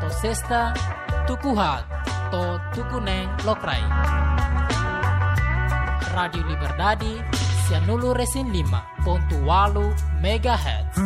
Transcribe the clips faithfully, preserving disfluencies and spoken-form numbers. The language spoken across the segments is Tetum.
Sesta, tuku haat to'o tuku neen lokraik. Rádiu Liberdade, sianulu-resin-lima pontu ualu megahertz.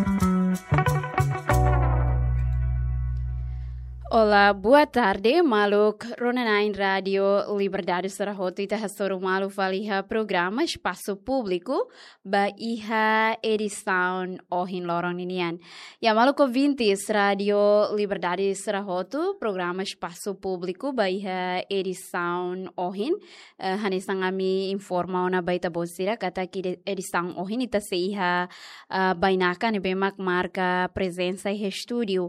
Olá, boa tarde, maluk rona-na'in Rádiu Liberdade sira hotu. Ita hasoru malu fali iha programa Espasu Públiku ba iha edisaun ohin loron ninian. Ya, maluk ouvintes Rádiu Liberdade sira hotu, programa Espasu Públiku ba iha edisaun ohin. Eh, hanesan ami informa ona ba ita-boot sira katak edi-, edisaun ohin ita sei iha, eh, bainaka ne'ebé mak marka prezensa iha estúdiu.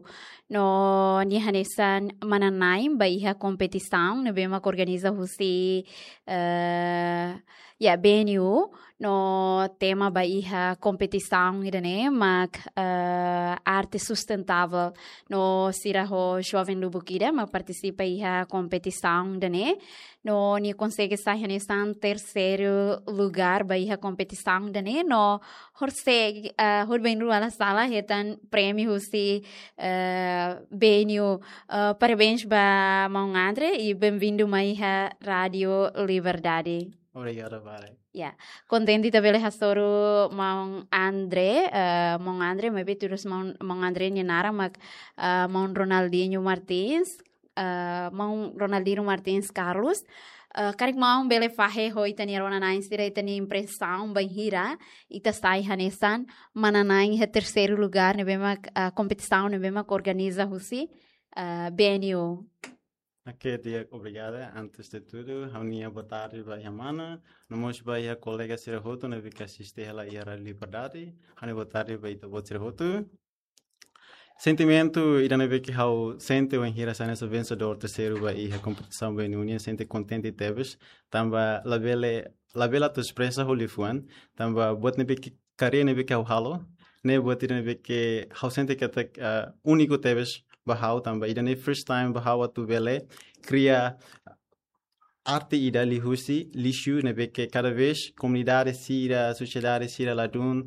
No nia hanesan manán-na'in ba iha kompetisaun ne'ebé mak organiza husi, eh, ya, B N U, no tema ba iha kompetisaun ida-ne'e mak, eh, arte sustentável. No sira ho joven lubuk ida mak partisipa iha kompetisaun ida-ne'e. No nia konsege sai hanesan terseiru lugár ba iha kompetisaun ida-ne'e. No horisehik, eh, horibainrua la sala hetan prémiu husi, eh, B N U. Eh, parabéns ba maun André i bem-vindu mai iha Rádiu Liberdade. Obrigadu barak. Ya, kontente ita bele hasoru maun André, eh, maun André, maibé tuir maun, maun André nia naran mak, eh, maun Ronaldinho Martins, eh, maun Ronaldinho Martins Carlos. Eh, karik maun bele fahe ho ita-nia rona-na'in sira ita-nia impresaun bainhira ita sai hanesan manán-na'in iha terseiru lugár ne'ebé mak, eh, kompetisaun ne'ebé mak organiza husi, eh, B N U. Oke, di'ak, obrigada. Antes de tudu, ha'u-nia boa tarde ba iha mana, no mós ba iha kolega sira hotu ne'ebé ke asiste hela iha Rádiu Liberdade. Ha'u-nia boa tarde ba ita-boot sira hotu. Sentimentu ida ne'ebé ke ha'u sente wainhira sai hanesan vensedór terseiru ba iha kompetisaun B N U nian, sente kontente tebes, tanba labele, labele atu espresa ho liafuan, tanba buat ne'ebé ke, karreira ne'ebé ke ha'u halo, ne'e buat ida ne'ebé ke ha'u sente katak, eh, úniku tebes ba ha'u, tanba ida-ne'e first time ba ha'u atu bele kria arte ida liuhusi lixu ne'ebé ke kada vez komunidade sira, sosiedade sira ladún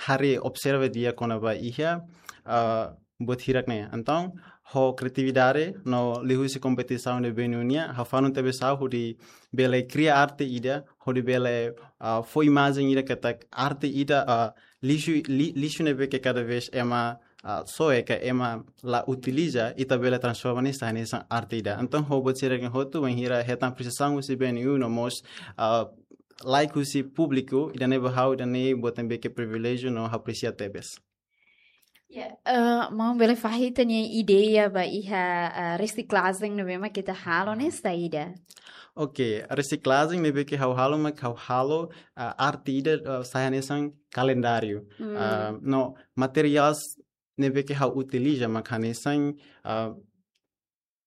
haree, observa di'ak kona-ba iha, ah, buat hirak-ne'e. Entaun, ho kriatividade no liuhusi kompetisaun ne'ebé nian, ha'u fanun tebes ha'u hodi bele kria arte ida, hodi bele, ah, fó imajen ida katak arte ida, ah, lixu, li-, lixu ne'ebé ke kada vez ema, ah, soe ka ema la utiliza, ita bele transforma nia sai hanesan arte ida. Entaun, ho buat sira-ne'e hotu, wainhira hetan apresiasaun husi B N U no mós, ah, like husi públiku, ida-ne'e ba ha'u, ida-ne'e buat ne'ebé ke priviléjiu no apresia tebes. Ya, eh, maun bele fahe ita-nia ideia ba iha, eh, resiklajen ne'ebé mak ita halo ne'e saida? Oke, resiklajen ne'ebé ke ha'u halo mak ha'u halo, eh, arte ida, eh, sai hanesan kalendáriu. Hmm. Eh, no materiais ne'ebé ke ha'u utiliza mak hanesan, eh,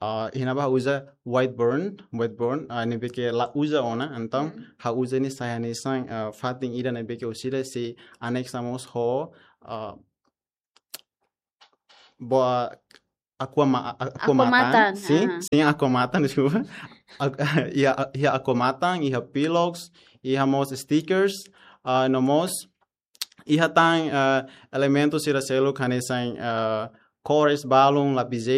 ah, iha ne'ebá ha'u uza whiteboard, whiteboard, ah, ne'ebé ke la uza ona, entaun, hmm, ha'u uza nia sai hanesan, ah, fatin ida ne'ebé ke orsida sei anexa mós ho, ah, boa, aqua ma-, a-, aqua matan. Aqua matan, sin, ah, sin, aqua matan, deskulpa. Ak-, iha, iha aqua matan, iha pillows, iha mós stickers, ah, no mós, iha tan, ah, elementu sira seluk hanesan, ah, kores, balun, lapizeira,